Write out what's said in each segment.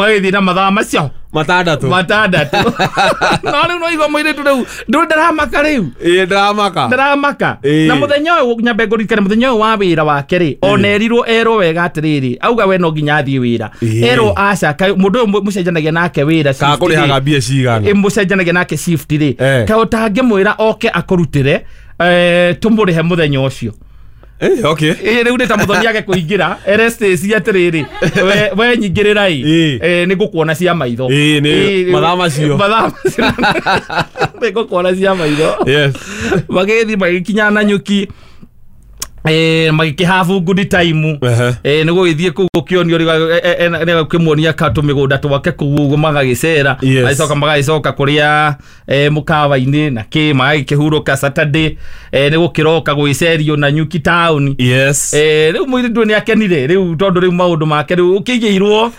Magĩthiĩ na mathaa macio matandatũ. Matandatũ. No rĩu no igua mũirĩtu rĩu ndũ ndaramaka rĩu. Ĩĩ, ndaramaka. Ndaramaka. Ĩĩ. Na mũthenya ũyũ nyambe ngũririkane mũthenya ũyũ wa wĩra wake rĩ, ona erirwo erwo wega atĩrĩrĩ, auga we no nginya athiĩ wĩra. Ĩĩ. Erwo aca kaĩ mũndũ ũyũ mũcenjanagia nake wĩra Kana shift rĩ, kũrĩhaga mbia cigana? ĩ, mũcenjanagia nake shift rĩ, Eh. kaĩ ũtangĩmwĩra oke akũrutĩre, tũmũrĩhe mũthenya ũcio. Eh, okay. Ĩ, rĩu nĩ ta mũthoni age kũingĩra ere Stacy atĩrĩrĩ, we nyingĩrĩra ĩ. Ĩ. Nĩ ngũkuona cia maitho. Ĩ, nĩ Ĩ, mathaa macio. Mathaa macio nĩ ngũkuona cia maitho. Yes. Magĩthiĩ magĩkinya na nyuki, magĩkĩhabu good time. Ehe. Nĩ gũgĩthiĩ kũu gũkĩonio gũkĩmuonia tũmĩgũnda twake kũu ũguo magagĩcera. Yes. Magĩcoka magagĩcoka kũrĩa, mũkawa-inĩ na kĩ magagĩkĩhurũka Saturday, nĩ gũkĩroka gwĩcerio na nyuki taũni. Yes. Rĩu mũirĩtu nĩ akenire rĩu tondũ rĩu maũndũ make rĩu ũkĩigĩirwo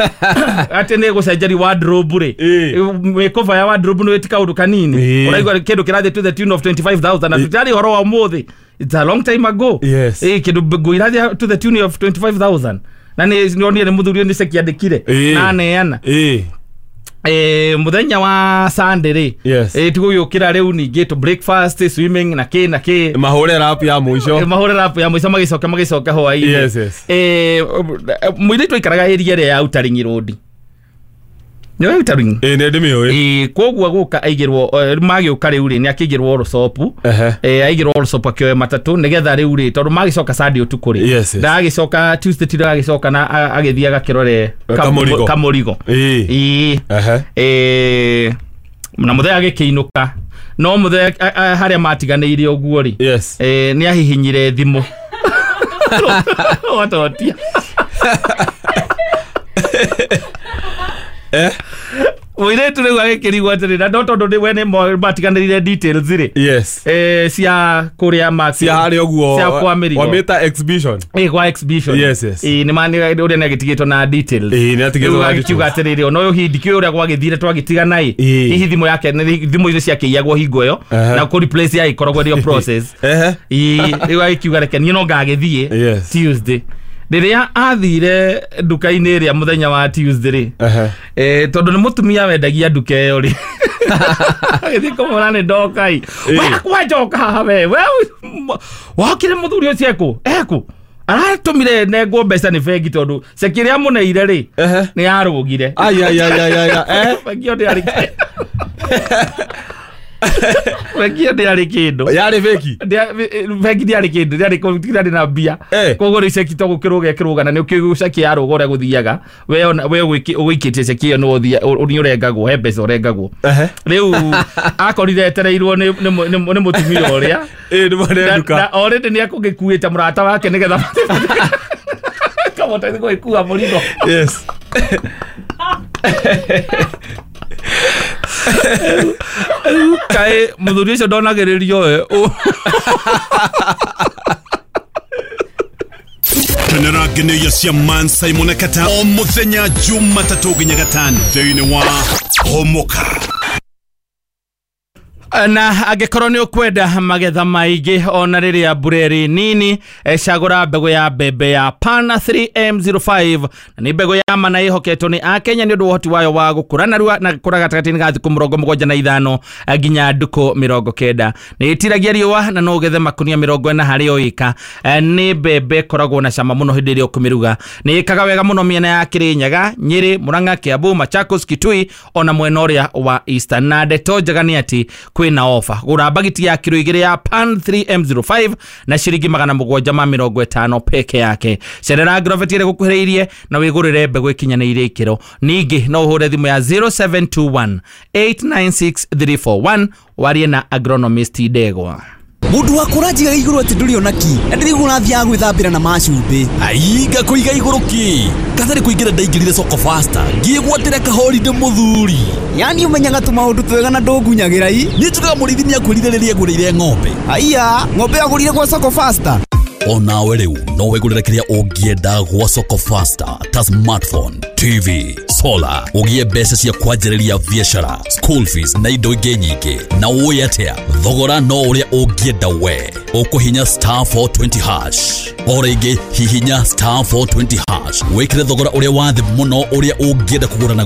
atĩ nĩ gũcenjeria wardrobe rĩ. Ĩ. Mĩkũba ya wardrobe nĩ ti kaũndũ kanini. Ĩ. Ũraigua kĩndũ kĩrathiĩ to the tune of 25,000 na tũtirarĩ ũhoro wa ũmũthĩ. It's a long time ago. Yes. Ĩ, kĩndũ nguo irathiĩ to the tune of 25,000 na nĩ nonire nĩ mũthuri ũyũ nĩ ceki andĩkire Ĩ. na aneana. Ĩ. Mũthenya wa Sunday rĩ, Yes. tigũgĩũkĩra rĩu ningĩ to breakfast, swimming na kĩ na kĩ. Mahũre rap ya mũico. Mahũre rapu ya mũico magĩcoka hwaĩ-inĩ. Yes. Mũirĩtu aikaraga area ĩrĩa ya Outer Ring Road. Nĩ Outer Ring? Ĩ, nĩ ndĩmĩũĩ. Koguo gũka aigĩrwo, magĩũka rĩu rĩ, nĩ akĩigĩrwo rũcopu. Ehe. Aigĩrwo rũcopu akĩoe matatũ nĩgetha rĩu rĩ, tondũ magĩcoka Sunday ũtukũ rĩ, Yes. ndagagĩcoka Tuesday ti ndagagĩcoka na agĩthiĩ agakĩrore Kamũrigo. kamũrigo. Ĩ. Ĩ. Ehe. Na mũthenya agĩkĩinũka no mũthenya harĩa matiganĩire ũguo rĩ, Yes. nĩ ahihinyire thimũ watotia. Eh? Mũirĩtu rĩu agĩkĩrigwo atĩrĩ, na no tondũ we nĩ matiganĩrire details rĩ, Yes. Cia kũrĩa Cia harĩa ũguo. Cia kwa mĩrigo. Wamĩta exhibition. Ĩ, kwa exhibition. Yes. Ĩ, nĩ ma ũrĩa nĩ agĩtigĩtwo na details. Ĩ, nĩ atigĩtwo Rĩu na agĩkiuga details. atĩrĩrĩ, ona ũyũ hihi ndikĩũĩ ũrĩa gwagĩthire twagĩtigana ĩ. Ĩ. Hihi thimũ yake thimũ icio ciakĩiyagwo hingo ĩyo Ehe. na kũ replace yagĩkoragwo ĩrĩ o process. Ehe. Ĩ, rĩu agĩkiuga reke niĩ no ngagĩthiĩ Yes. Tuesday. Rĩrĩa athire nduka-inĩ ĩrĩa mũthenya wa Tuesday rĩ, Ehe. Tondũ nĩ mũtumia wendagia nduka ĩyo rĩ, agĩthiĩ kũmũra nĩ ndoka ĩ. Ĩ. We kwanjoka haha we wokire mũthuri ũcio ekũ aratũmire nengwo mbeca nĩ bengi tondũ ceki ĩrĩa amũneire rĩ, Ehe. nĩ yarũgire. Ai ai ai ai ai. Eh. Bengi ĩyo ndĩarĩ bengi ĩyo ndĩarĩ kĩndũ. Yarĩ fake. Bengi ndĩarĩ kĩndũ, ndĩarĩ na mbia. Eh. Koguo rĩu ceki to gũkĩrũga ĩkĩrũga na nĩ ũkĩũĩ ceki yarũga ũrĩa gũthiaga we ũgũikĩtie ceki ĩyo nĩ ũrengagwo he mbeca ũrengagwo. Ehe. Rĩu akorire etereirwo nĩ mũtumia ũrĩa Ĩ, nĩ mwene nduka. Na already nĩ ekũgĩkuĩte mũrata wake nĩgetha kamũteithie gũgĩkua mũrigo. Yes. Kaĩ mũthuri ũcio ndonagĩrĩrio we. Kenera ngeneia cia Man Simon Kata o muthenya Jumatatũ nginya gatano thĩinĩ wa Homoka. Na angĩkorwo nĩ ũkwenda magetha maingĩ ona rĩrĩa mbura ĩrĩ nini, cagũra mbegũ ya mbembe ya Pana 3M05 na nĩ mbegũ ya mana ĩhoketwo nĩ akenya nĩ ũndũ wa ũhoti wayo wa gũkũra narua na gũkũra gatagatĩ-inĩ ga thikũ 75 nginya ndukũ 90. Nĩ ĩtiragia riũa na no ũgethe makunia 40 harĩ o ĩka. Nĩ mbembe ĩkoragwo na cama mũno hĩndĩ ĩrĩa ũkũmĩruga. Nĩ ĩkaga wega mũno mĩena ya Kĩrĩnyaga, Nyĩrĩ, Murang'a, Kiambu, Machakos, Kitui ona mwena ũrĩa wa Eastern. Na ndeto njega nĩ atĩ kwĩna ofa. Gũra mbagiti ya kiro 2 ya Pan 3M05 na ciringi 750 peke yake. Cerera Agrovet ĩrĩa ĩgũkuhĩrĩirie na wĩgũrĩre mbegũ ĩkinyanĩire ikĩro. Ningĩ no ũhũre thimũ ya 0721 896 341 warie na agronomist Ndegwa. Mũndũ wa kũranjiga igũrũ atĩ ndũrĩ ona ki na ndĩrĩguo ũrathiaga gwĩthambĩra na macumbĩ. Ai, ngakũiga igũrũ kĩ? Katarĩ kũingĩra ndaingĩrire soko faster ngĩgwatĩra kahorinde mũthuri. Yani ũmenyaga tũmaũndũ twega na ndũngunyagĩra i. Niĩ njugaga mũrĩithi nĩakwĩrire rĩrĩa agũrĩire ng'ombe. Aiya, ng'ombe agũrire gwa soko faster. Onawe rĩu no wĩgũrĩre kĩrĩa ũngĩenda gwa soko faster ta smartphone, TV, solar, ũgĩe mbeca cia kwanjĩrĩria biacara, school fees na indo ingĩ nyingĩ. Na ũĩ atĩa, thogora no ũrĩa ũngĩenda we. Ũkũhinya star 420 hash. O rĩngĩ hihinya star 420 hash wĩkĩre thogora ũrĩa wa thĩ mũno ũrĩa ũngĩenda kũgũra naguo.